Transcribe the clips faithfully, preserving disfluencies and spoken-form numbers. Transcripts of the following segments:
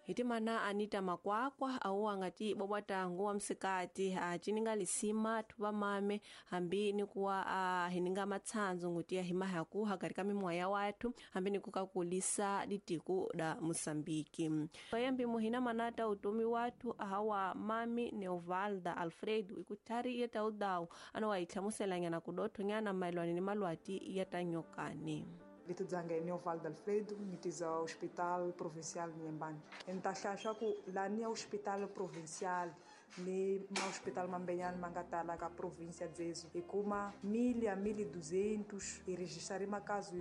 Hitimana Anita Makwakwa au angati bobwata nguwa msikati a chininga lisima tuba mame hambi ni kuwa a hininga matsanzo ngutia himaha ku hakarika mimwaya watu hambi ni kukakulisa litiku da Mosambiki. Kayembi muhina manata utumi watu ahawa mami Neovalda Alfredo ikutari yeta udau ano waithlamuselanya na kudotho nyana maelwana ni malwati yatanyokani. Vito dzanga é Neovaldo Alfredo, nitiza ao Hospital Provincial de Inhambane. Então, acho que lá no Hospital Provincial, ni ma hospital mambenhani mangatala ka província dzezo e kuma mil a mil e duzentos e registrar makazo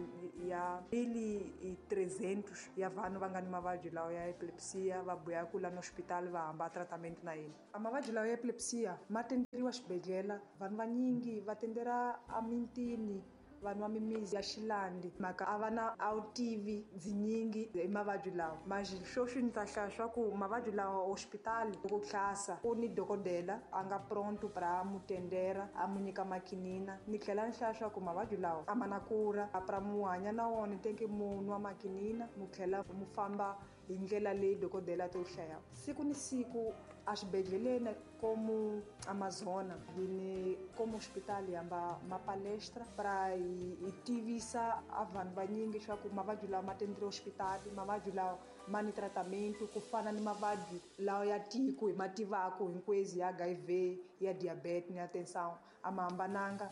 ya mil e trezentos ya vanhu va nga ni mavabyi lawa ya epilepsia va buya ku la no hospital va hamba tratamento na yena. A mavabyi lawa ya epilepsia ma tenderiwa xibedhlele, vanhu vanyingi va tendera amintini vanhu va mimizi ya xilandi mhaka a va na awutivi byinyingi hi mavabyi lawa. Manjhe sweswi ni ta hlaya swa ku mavabyi lawa hospital loko hlasa ku ni dokodela a nga pronto pra mu tendera a mu nyika makinina. Ni tlhela ni hlaya swa ku mavabyi lawa a ma na kura a pra mu hanya na wona teke mu nwa makinina mu tlhela mu famba hi ndlela leyi dokodela to hlaya. Siku ni siku a xibedhleleni como Amazona hi ni como hospital hamba ma palestra pra hi tivisa a vanhu vanyingi swa ku mavabyi lawa ma tenderiwa hospital, mavabyi lawa ma ni tratamento ku fana ni mavabyi lawa ya tiko hi ma tivaku hinkwezi ya H I V ya diabetes ni ya tensão a ma hambananga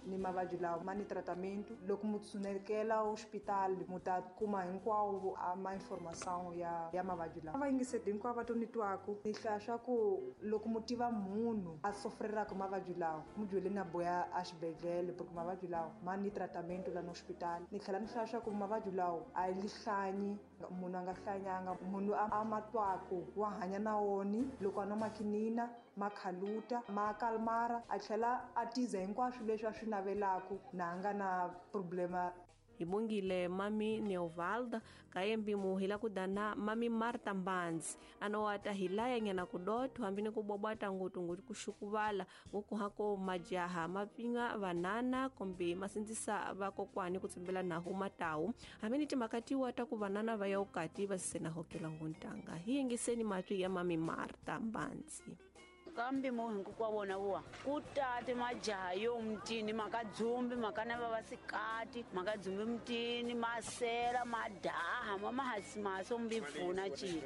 ni mavabyi lawa ma ni tratamento. Loko mu tshunekela hospital mu ta kuma hinkwawo a ma informação ya ya mavabyi lawa. Va yingiseti hinkwavo va to ni twaku ni hlaya swa ku loko mu tiva munhu a sofreraka mavabyi lawa mu byeleni na boya a xibedhlele porque mavabyi lawa ma ni tratamento la no hospital. Ni tlhela ni hlaya swa ku mavabyi lawa a yi hlanyi munhu a nga hlanyanga munhu a ma twaku wa hanya na woni loko a nwa makinina ma khaluta ma kalmara a tlhela a tiza hinkwaswo leswi a swi navelaku na a nga na problema. Hibongile mami Neovalda kayembi muhila kudana mami Marta Mbanzi anowata hilaya nyana kudotho hambi ni kubobwata ngutu ngutu kushukuvala ngukuhako majaha mapinga vanana kombe masindzisa vakokwani kutsimbela naho matawu hambi ni timakatiwa ta ku vanana va ya ukati va sena hokela nguntanga. Hi yingiseni matwi ya mami Marta Mbanzi. Kambi muhingu kwa wona uwa kutate majaha yo mtini makadzumbi makana vavasikati makadzumbi mtini masela madaha mamahasi maso mbivuna chini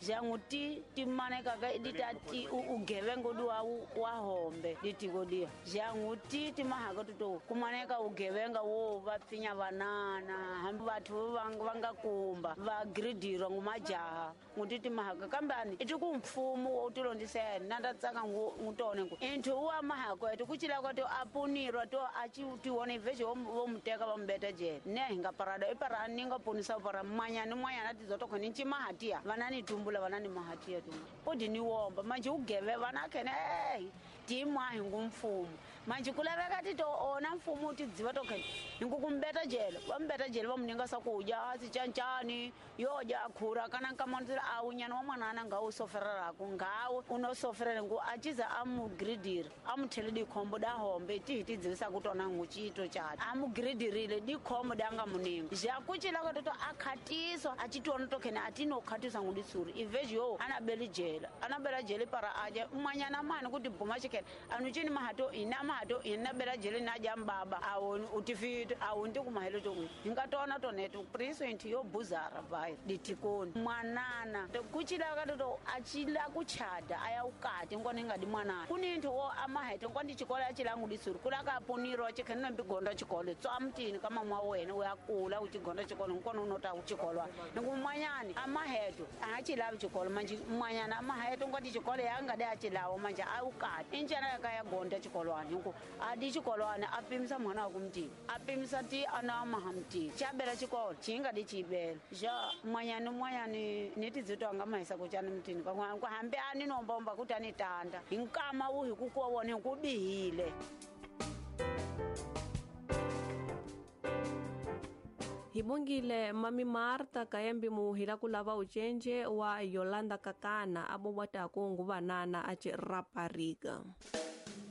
jangu ti timane kaka ditati ugevengo duwa wa hombe ditiko dia jangu ti timahaka tuto kumaneka ugevenga wo vapfinya vanana hambi vathu vanga kumba va gridirwa ngumajaha nguti timahaka kambani itiku mfumo wo tilondisena nanda tsaka ngutone ngu inthu wa mahako etu kuchila kwa to apunirwa to achi tione vejo wo muteka va mbeta jele ne hinga parada ipara ninga punisa para manyani mwanyana tizoto khoni nchimahatia vanani tumbula vanani mahatia tu podi ni womba manje ugeve vana khene eh timwa hingu mfumo manje kulaveka tito ona mfumo tidziva to khene hingu kumbeta jele va mbeta jele va muninga sakuja sichanchani yoja khura kana nkamanzira awunyana wa mwanana nga usofereraku ngawe unosoferera ngu achiza amugridira amuthele dikhombo da hombe tihi tidzivisa kutona nguchito chati amugridirile dikhombo danga muninga jakuchilaka toto akhatiswa achitiona tokhene atinokhatiswa nguditsuri iveji yo anabeli jela anabela jele para aja mwanyana mani kuti bhuma chikene anuchini mahato ina mahato ina bela jele naja mbaba awoni utifita awonti kumahelo toku hingatona tonetu priso inti yo buzara vai ditikoni mwanana kuchilaka toto achila kuchada aya ukati ngone ngadi mwanana kuninthu wo amahete ngwandi chikolo achilangu ditsuri kulaka apunirwa chikhene mbigonda chikolo tso amtini kama mwa wena uyakula uchigonda chikolo ngone unota uchikolwa ngumwanyani amaheto achilavi chikolo manje mwanyana amaheto ngwandi chikolo yangade achilawo manje awukati injana yakayagonda chikolwani ngu adi chikolwani apimisa mwana wakumtini apimisa ti ana mahamtini chabela chikolo chingadi chibela ja mwanyani mwanyani nitidzito angamahisa kuchani mtini kwa hambe ani nombomba kuti anitanda hinkama uhi kukuwona kubihile. Hibongile mami Marta kayembi muhila kulava uchenje wa Yolanda Kakana abobwata kungu vanana achi rapariga.